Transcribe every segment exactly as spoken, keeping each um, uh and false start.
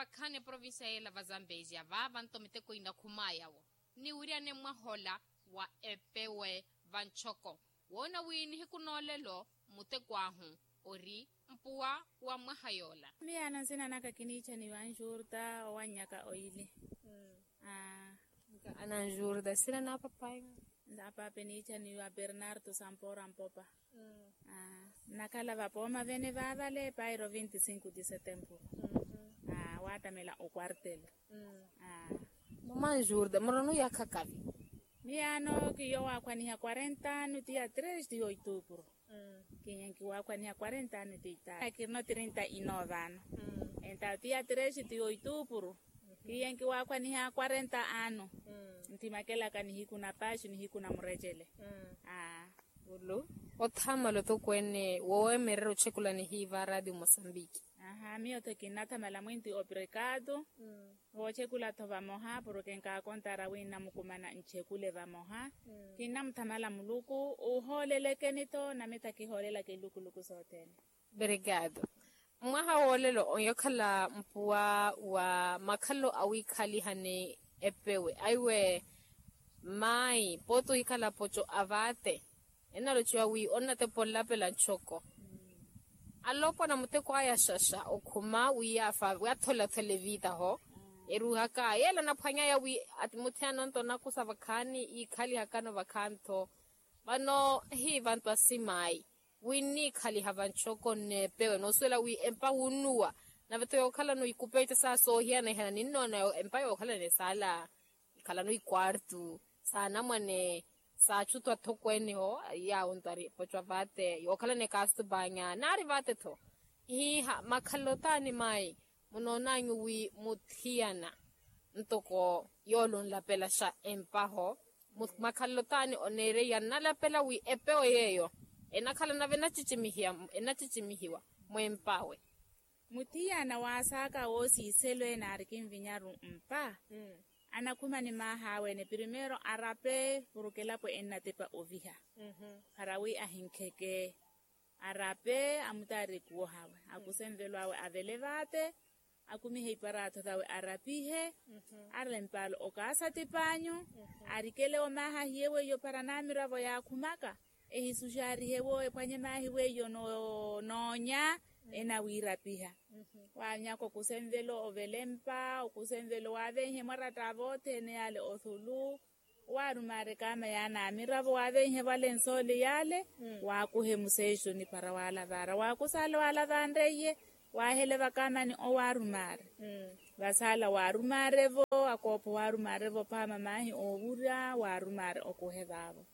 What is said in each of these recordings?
Vakhaani eprovincia yeela va zambezia vaava nto miteko inakhumaya wo, niwiryane mwahola wa epewe va ntxoko. Woona wi nihiku noolelo muteko ahu ori mpuwa wa mwaha yoola. Miyaano nsina naka kiniichaniwa anjurta owannyaka oili. Aa. Ananjurta nsina na papayi? Nda pape niichaniwa bernardo sampora mpopa. Aa, nnakhala vapooma vene vaavale pairo vinti cinco de setembro. Aa, waattamela oquartel. Aa. Mama anjurta murano yakhakavi? Miyaano kiyo waakhwaniha quarenta ano tiya tres tiyo itupuro. Kiyenki waakhwaniha quarenta ano tiya itupuro. Kirino trinta ino vano. Entawo tiya tres tiyo itupuro. Kiyenki waakhwaniha quarenta ano. Ntimakelaka nihiku na paxi nihiku na murecele. Aa. Ulu othamala othokweene woweemererya ochekulani hiiva radio mosambiki. Aha miyo tho kinnathamala mwinti obrigado. Voochekula tho vamoha porke nkaakontara wi nnamukumana nchekule vamoha. Kinnamuthamala muluku ohoolelekeni tho nami tha kihoolelaka ilukuluku sothene. Obrigado. Mwaha woolelo onyokhala mpuwa wa makhalelo awiikhaliha ni epewe aiwe mayi pooti ohikhala poco a vaate. Ennalochiwa wi onnatepa onlapela ntxoko alopwana muteko aya xaxa okhuma wi yaafa wi atholathole viitaho. Eruuhaka yeela anaphwanyaya wi ati muthiyana onto onakusa vakhaani yiikhalihakano vakhaani tho. Vano hiivantu asimayi wi nniikhaliha vantxoko nneepewe noosuwela wi empa wunnuwa. Nave tho yookhalano ikupeita saa soohiyana-hiyana ninnoona empa yookhalana esaala ikhalano ikwartu saanamwane. Saatxutu athokweene ho yaawo nto ari poco a vaate yookhalana ekaastupaanya naari vaate tho. Hiiha makhalelo taani mayi munoonanyu wi muthiyana ntoko yoole onlapelaxa empaho. Makhalelo taani oneereiya nnalapela wi epewo yeeyo enakhala nave enacicimihiwa mwempawe. Muthiyana waasaaka woosiiselo ene aari kinvinyaru mpa anakhuma ni maah'awe ene primeiro arape porke elapo ennatepa oviha para wi ahinkheke. Arape amutaari ekuwo hawe akuse nvelo awe avele vaate akumihe iparaatho sawe arapihe. Arempala okaasa tipanyu arikele omaaha ahiye weiyo para namiravo yaakhumaka ehisuxarihewo ephwanye maahi weiyo noonya enawiirapiha. Waanyaka okuse nvelo ovele mpa okuse nvelo waavenhe mwaratta vothene yale othulu waarumaare kaama yaana amiravo waavenhe valensooli yale waakuhe musexoni para waalavara waakusala waalavanreiye. Waahele vakaamani owaarumaare vasala waarumaare-vo akoopho waarumaare-vo phaama maahi oowurya waarumaare okuhe vaavo.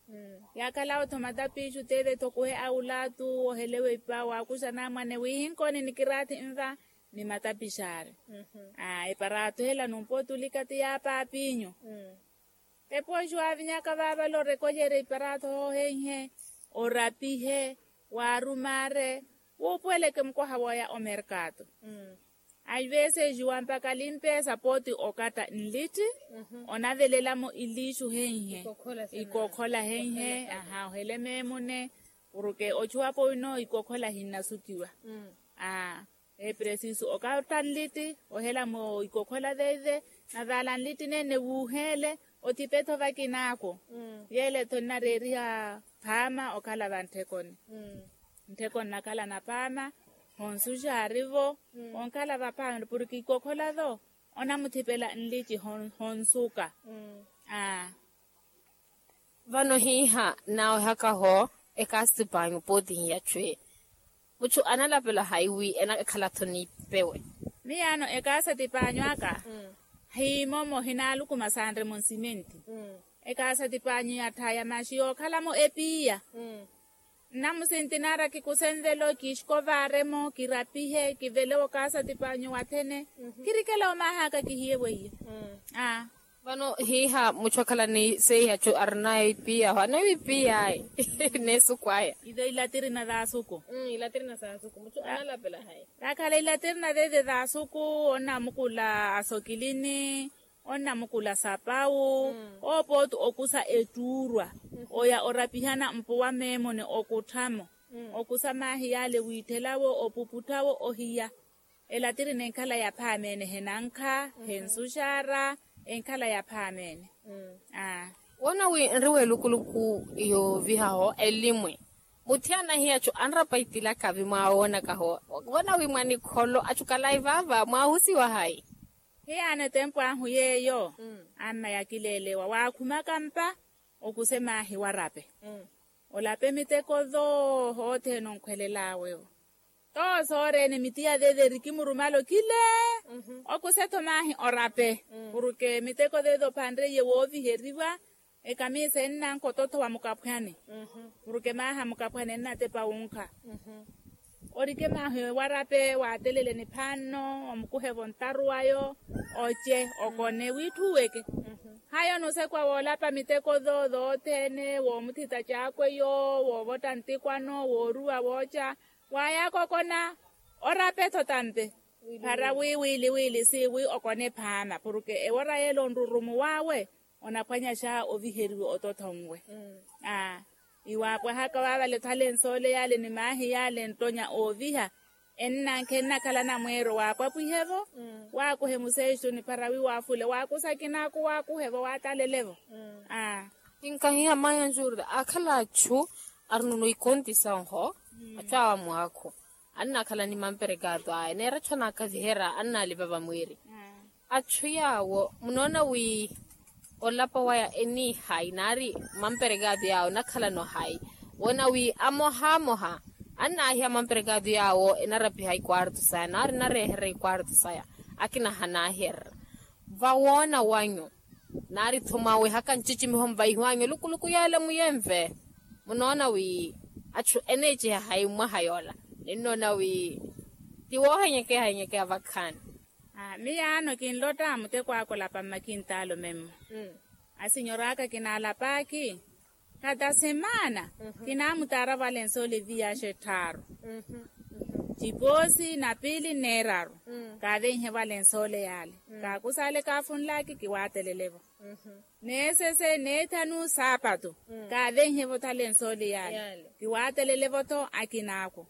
Yaakhala otho matapixu teve tho okuhe awulaatu ohelewe ipa waakuxa naamwane wiihinkoni nikiraathi nva ni matapixaari. Aa eparaatho hela numpootulika ti yaapaapinyu. Epoxi waavinyaka vaavale orekolyerya iparaatho hoohenhe orapihe waarumaare wuupuweleke mukwaha wooya omerkaato. Aiveesexiwa mpakha limpeesa pooti okatta nlitti onavelelamo ilixu henhe. Ikokhola henhe. Aha ohele meemune porke ochuwapo wino ikokhola hinnasukiwa. Aa epresisu okatta nlitti ohelamo ikokhola veve navaala nlitti nene wuuheele othipetho vakinaako. Yeele-tho nnareeriha phaama okhala vantthekoni. Nttheko nnakhala naphaama honsuxaari-vo onkhala vaphaama porke ikokhola-vo onamuthipela nlitti honsuka. Aa vano hiiha naawehaka-ho ekastipanyu pooti hiyatxwe mutthu analapela hayi wi enakhala-tho niipewe. Miyaano ekaasa tipanyu aka hiimomo hinaalukuma sanremo nsimenti. Ekaasa tipanyu yatthaya maxi yookhalamo epiiya. Nnamusinti naara kikuse nvelo kixikovaaremo kirapihe kivele okaasa tipanyu wathene kirikela omaahaka kihiye weiyo. Aa vano hiiha mutthu akhala ni seihatthu arinaye ipiyaho anawipiyaye neesuku aya. Ive ilatirina thasuku. Ilatirina thasuku mutthu analapela hayi. Vakhala ilatirina veve thasuku onnamukula asokilini onnamukula sapawu. Oopooti okusa ettuurwa oya orapihana mpuwa meemone okutthamo okusa maahi yaale wiitthelawo opuputhawo ohiya. Elatirina enkhala yaphaamene henankha hensuxara enkhala yaphaamene. Woona wi nri weelukuluku yoovihaho elimwe muthiyana hiyachu anrapa itilakavi mwawoonakaho woona wi mwanikholo achukalayi vaava mwaahusiwa hayi? Hiyaana etempu ahu yeeyo anna yakileelewa waakhumaka mpa okuse maahi warape olape miteko thooho othene onkhwelelaawe-wo. Too sooreene mitiya thetheri kimurumala okile okuse-tho maahi orape. Porke miteko thethophanreiye wooviheriwa ekamiisa ennanka ototho wa mukaphwani porke maaha mukaphwani ennatepa wunkha. Orike maahi warape waatelele niphaanno omukuhe vontaru wayo oce okone wiitthuweke. Hayo nusekwa woolapa miteko thoothene woomuthita caakweyo woovotta ntikwano wooruwa wooca waayaakokona orape-tho tampe. Para wi wiili wiili siiwi okone phaama porke ewora yeela onrurumuwaawe onaphwanyaxa oviheriwa otothonwe. Aa iwaapwahaka waavale thalensoole yaale ni maahi yaale ntonya ooviha ennankhe ennakhala namweero waapwapwihe-vo waakuhe museexuni para wi waafule waakusa kinaaku waakuhe-vo waatalele-vo. Aa kinkahiha maya njurda akhala achu arununu ikonti sanho achu awa mwaakhu annakhala ni mamperekaato aya neera achu anaakaviherya annalipa vamwiiri. Achu yaawo munoona wi olapa waya eniihayi naari mamperekaato yaawo nakhalano hayi? Woona wi amoha amoha annaahiya mamperekaato yaawo enarapiha ikwarto saya naari nareeherya ikwarto saya akina hanaaherya vawoona wanyu naari-tho mwaawehaka ncicimiho mvaihiwanyu elukuluku yeela muyenve. Munoona wi achu eneeciha hayi mwaha yoola ninnoona wi ti woohenyekeha henyekeha vakhaani. Miyaano kinlotta muteko aka olapa mmakintaalo memmo asinyor'aka kinaalap'aki khata semaana kinaamutaara valensoole viyaxa etthaaru cipoosi na piili nneeraru kaavenhe valensoole yaale kaakusale kaafunl'aki kiwaatelele-vo. Neesese neethanu saapatu kaavenhe-vo thalensoole yaale kiwaatelele-vo-tho akin'aku.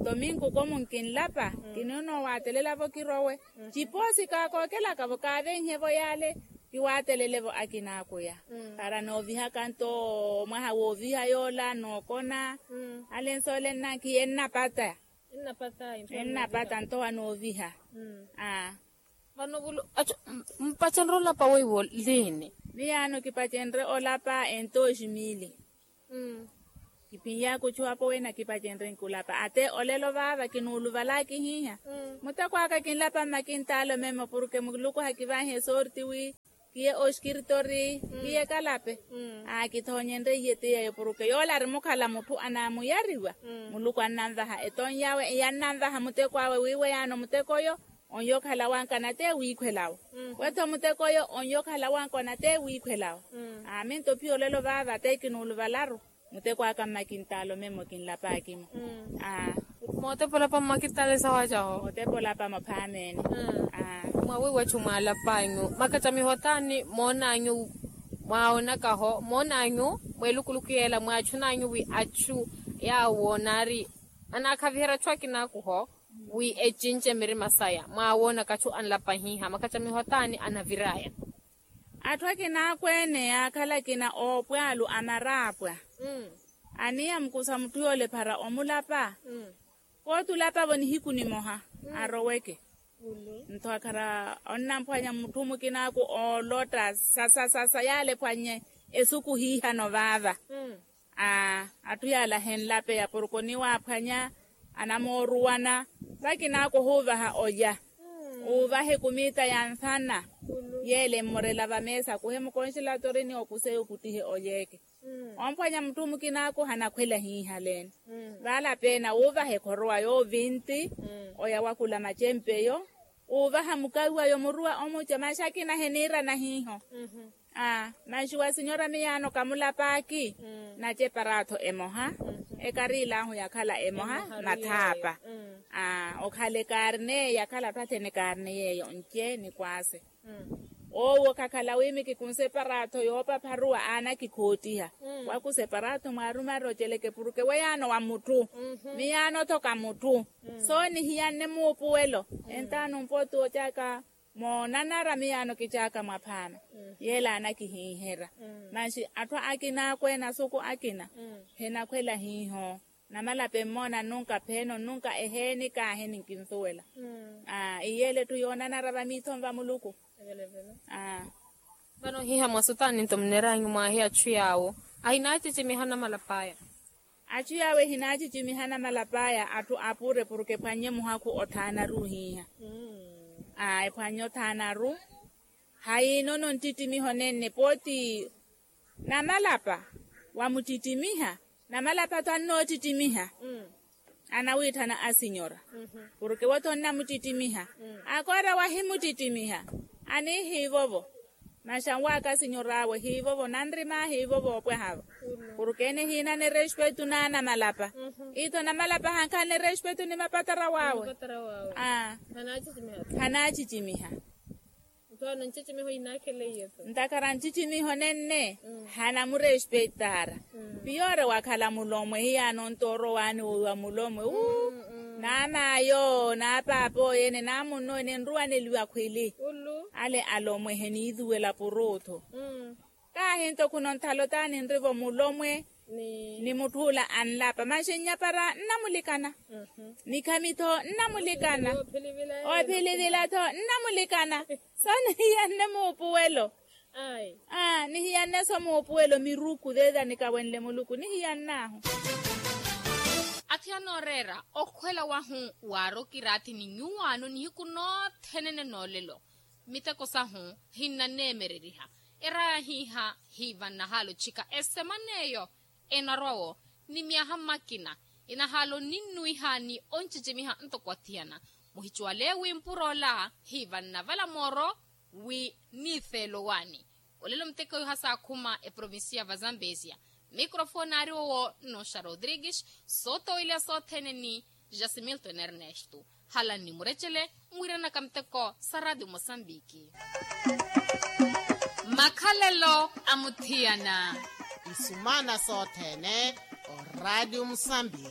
Tominkuko munkinlapa kinoonoowaatelela-vo kirowe cipoosi kaakookelaka-vo kaavenhe-vo yaale kiwaatelele-vo akin'akuya. Para noovihaka nto mwaha wooviha yoola nookona alensoole nnankiye nnapata ennapata nto wanooviha. Aa vano vulu acho mpacenre olapa weiwo liini? Miyaano kipacenre olapa entoxi mili. Kiphinyaku ochuwapo wena kipacenre nkulapa ate olelo vaava kinuuluvalaki hiiha muteko aka kinlapa mmakintaalo memo porke muluku hakivanhe sorti wi kiye oxkirtori kiye kalape. Akithoonyenreiye ti yeeyo porke yoola ari mukhala mutthu anaamuyariwa muluku annanvaha etonyawe iyannanvaha muteko awe wiiwe yaano muteko oyo onyo okhala wanka nate wiikhwelawo. Wetho muteko oyo onyo okhala wanka onate wiikhwelawo. Aaminto phiya olelo vaava ate kinuuluvalaru muteko aka mmakintaalo memmo kinlap'akimo. Aa mootepa olapa mmakintaalo esawacaho mootepa olapa maphaamene. Aa mwawiiwachu mwaalap'anyu makacamiho taani moon'anyu mwaawonakaho moon'anyu mweelukuluku yeela mwaachun'anyu wi achu yaawo naari anaakhaviherya achu akinaakuho wi ecince mirima saya mwaawoonaka achu anlapa hiiha makacamiho taani anavir'aya? Atthu akina akweene yaakhala akina oopwaalu amaraapwa aniya mukusa mutthu yoole ephara omulapa. Kootulapa-vo nihiku nimoha aroweke. Ntho akhara onnamphwanya mutthu mukinaaku oolotta sasa sasa yaale ephwannye esuku hiihano vaava. Aa atthu yaala ahenlapeya porke oniwaaphwanya anamooruwana. Vakinaaku ohuuvaha olya uuvahe kumiita ya nfana yeela emmorela vameesa akuhe mukonxelatori ni okuseya okuttihe olyeeke. Omphwanya mutthu mukinaaku hanakhwela hiihaleene. Vaalapeene awuuvaha ekhorowa yoovinti oya wakula macempe eyo uuvaha mukawi wayo muruwa omuca maxakina heniirana hiiho. Aa maxuwa sinyora miyaano kamulap'aki naceparaatho emoha ekariilahu yakhala emoha mathaapa. Aa okhala ekarne yakhala atthu athene ekarne yeeyo nce ni kwaase. Owo kakhala wimiki kunseparato yoopapharuwa aana kikhoottiha. Wakuseparato mwaarumari oceleke puruke weyaano wa mutthu. Miyaano-tho ka mutthu. Soo nihiyanne muupuwelo. Entaano mpooti ocaaka moonanara miyaano kicaaka mwaphaano. Yeela aana kihiiherya. Manxi atthu akina akweene asuku akina hinakhwela hiiho. Namalapa emmoona nnunka pheeno nnunka eheeni kaahi ninkinsuwela. Iyeele etthu yoonanara vamiithoni va muluku. Vano ohiiha mwasutaani nto munneeraanyu mwaahi atthu yaawo ahinaacicimiha namalap'aya. Atthu yaawo ehinaacicimiha namalap'aya atthu apure porke ephwannye muhakhu othaanaru ohiiha. Ephwannye othaanaru. Hayiinono nttittimiho nenne pooti namalapa wamuttittimiha. Namalapa-tho annoottittimiha. Anawitthana asinyora porke wo-tho onnamuttittimiha. Akoora wahimuttittimiha anihiivovo. Maxanwaaka asinyor'awe hiivovo nanrima hiivovo opwaha-vo. Porke ene hiinane respetu naanamalapa. Itho namalapa hankhanne respetu ni mapatara wawe. Hanaacicimiha. Ntakara ncicimiho nenne hanamurespeitaara. Piyoore wakhala mulomwe hiyaano ntooro waani wa mulomwe uu. Naamaayo naapaap'oyo ene naamunno ene nruwaneliwa khwili. Ale alomwe eheniithuwela puruuthu. Kaahi nto khuno nthalo t'ani nrivo mulomwe ni mutthuula anlapa manxi nnyapara nnamulikana. Nikhami-tho nnamulikana. Oophilivila-tho nnamulikana. Soo nihiyanne muupuwelo. Nihiyanne-so muupuwelo miruku zeeza nikawenle muluku nihiyann'ahu. Atthu anooreera okhwela wahu waarokiratthi ni nyuwaano nihiku noothenene noolelo. Miteko sahu hinnaneemereriha. Eraaya hiiha hiivannahaala otthika esemana eyo enarwa-wo ni myaha mmakina. Enahaala onninnwiha ni oncicimiha ntoko athiyana. Muhicuwale wi mpuro ola hiivannavala mooro wi niifeelo waani. Olelo muteko yuha saakhuma eprovincia va zambezia. Mikrofoni aari owo nnoxa rodrigues. Sootoweliya sothene ni jasimilton ernesto. Halani murecele mwiiranaka muteko sa radio mosambiki. Makhalelo a muthiyana. Isumana sothene o radio mosambiki.